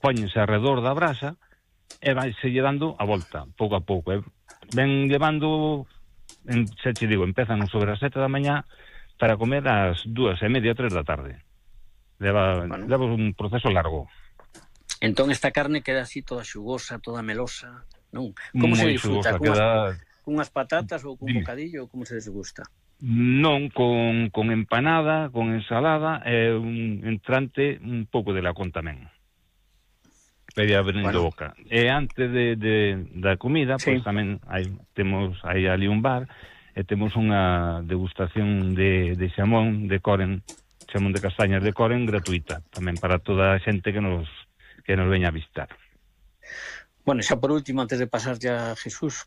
póñense alrededor da brasa e vaise lle dando a volta, pouco a pouco. Ven levando, xa te digo, empezan sobre as 7 da mañá para comer ás 2:30, 3 da tarde. Leva un proceso largo. Entón esta carne queda así toda xugosa, toda melosa, non? Como se disfruta? Cunhas patatas ou cun bocadillo? Como se desgusta? Non, con empanada, con ensalada e un entrante un pouco de lacón tamén. Pedía abrindo boca. E antes da comida, pois tamén temos aí ali un bar e temos unha degustación de xamón de Coren, xamón de castañas de Coren gratuita, tamén para toda a xente que nos veña a visitar. Bueno, xa por último, antes de pasar ya a Jesús,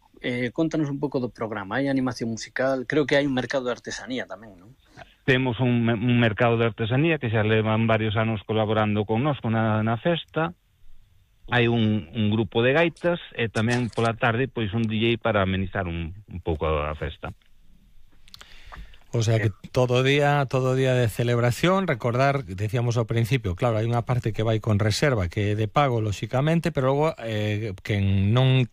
contanos un pouco do programa. Hai animación musical, creo que hai un mercado de artesanía tamén, non? Temos un mercado de artesanía que xa levan varios anos colaborando con nós na festa. Hai un grupo de gaitas e tamén pola tarde pois un DJ para amenizar un pouco a festa. O sea que todo día de celebración. Recordar, decíamos ao principio, claro, hai unha parte que vai con reserva, que é de pago, lóxicamente, pero logo quen non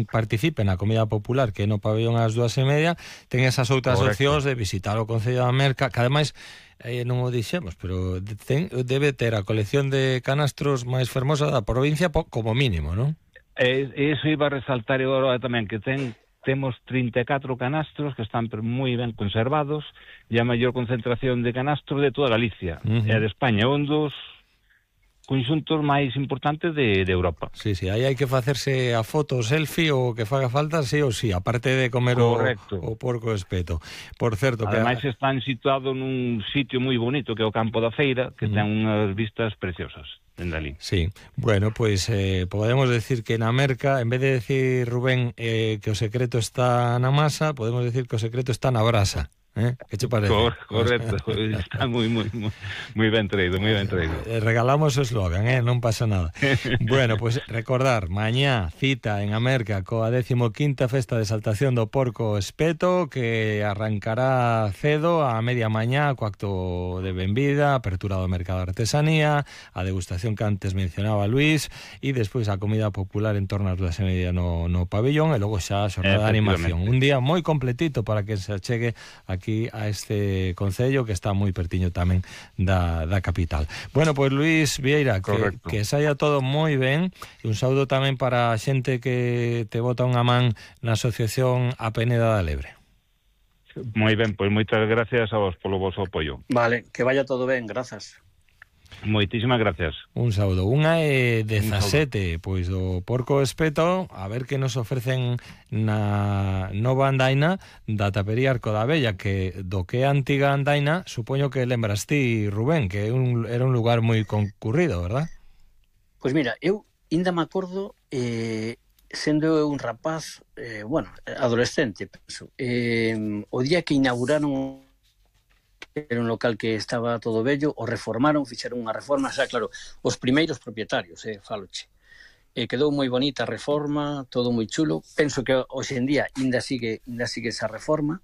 participe na comida popular, que é no pabellón ás 2:30, ten esas outras opcións de visitar o Concello da Merca, que ademais non o dixemos, pero debe ter a colección de canastros máis fermosa da provincia como mínimo, non? Eso iba a resaltar agora tamén, que temos 34 canastros que están moi ben conservados e a maior concentración de canastros de toda Galicia e de España, un dos conxuntos máis importantes de Europa. Sí, aí hai que facerse a foto, o selfie, ou que faga falta, sí ou sí, aparte de comer o porco espeto. Por certo, ademais están situados nun sitio moi bonito, que é o Campo da Feira, que ten unhas vistas preciosas dende ali. Sí, bueno, pois podemos decir que na Merca, en vez de decir, Rubén, que o secreto está na masa, podemos decir que o secreto está na brasa. Que che parece? Correcto, está moi ben traído, moi ben traído. Regalamos o eslogan, non pasa nada. Bueno, pues recordar, mañá cita en Amerca coa 15ª Festa de Exaltación do Porco Espeto, que arrancará cedo a media mañá co acto de benvida, apertura do mercado de artesanía, a degustación que antes mencionaba Luis, e despois a comida popular en torno ás 2:30 no pabellón, e logo xa a xornada de animación. Un día moi completito para que se achegue aquí a este concello que está moi pertiño tamén da capital. Bueno, pois Luis Vieira, que saia todo moi ben, e un saúdo tamén para a xente que te bota unha man na asociación A Peneda da Lebre. Moi ben, pois moitas gracias a vos polo vosso apoio. Vale, que vaya todo ben, grazas. Moitísimas gracias. Un saúdo. Unha é 17, pois do Porco Espeto, a ver que nos ofrecen na nova andaina da tapería Arco da Vella, que do que é a antiga andaina, supoño que lembras ti, Rubén, que era un lugar moi concurrido, verdad? Pois mira, eu ainda me acordo, sendo eu un rapaz, adolescente, penso, o día que inauguraron, era un local que estaba todo bello, o reformaron, fixeron unha reforma, xa claro, os primeiros propietarios, faloche. Quedou moi bonita a reforma, todo moi chulo. Penso que hoxe en día ainda sigue esa reforma.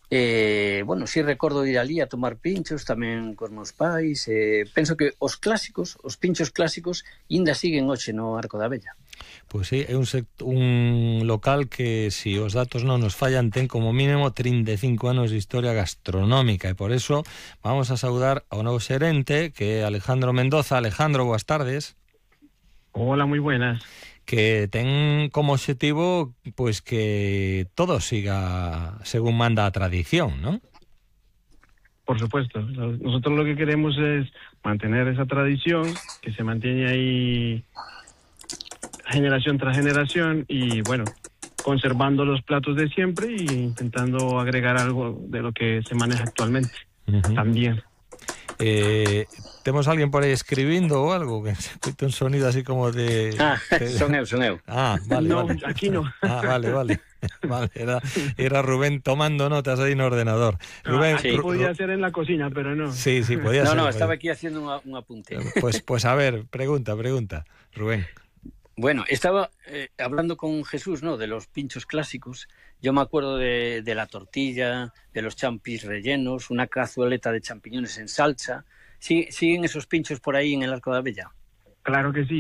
Si recordo ir ali a tomar pinchos tamén cos meus pais. Penso que os pinchos clásicos ainda siguen hoxe no Arco da Vella. Pois sí, é un local que, se os datos non nos fallan, ten como mínimo 35 anos de historia gastronómica, e por eso vamos a saudar ao novo xerente, que é Alejandro Mendoza. Alejandro, boas tardes. Hola, moi buenas. Que ten como obxectivo pois que todo siga según manda a tradición, ¿non? Por supuesto. Nosotros lo que queremos es mantener esa tradición, que se mantiene ahí generación tras generación, y bueno, conservando los platos de siempre e intentando agregar algo de lo que se maneja actualmente también. Temos alguén por aí escribindo ou algo, que se escuta un sonido así como de... Son eu. Vale, no, vale. Aquí no. Vale. Vale, era Rubén tomando notas aí no ordenador. Rubén, podía ser en la cocina, pero no. Sí, podía ser. No, estaba aquí haciendo un apunte. Pues a ver, pregunta, Rubén. Bueno, estaba hablando con Jesús, ¿no?, de los pinchos clásicos. Yo me acuerdo de la tortilla, de los champis rellenos, una cazueleta de champiñones en salsa. ¿Siguen esos pinchos por ahí en el Arco da Vella? Claro que sí.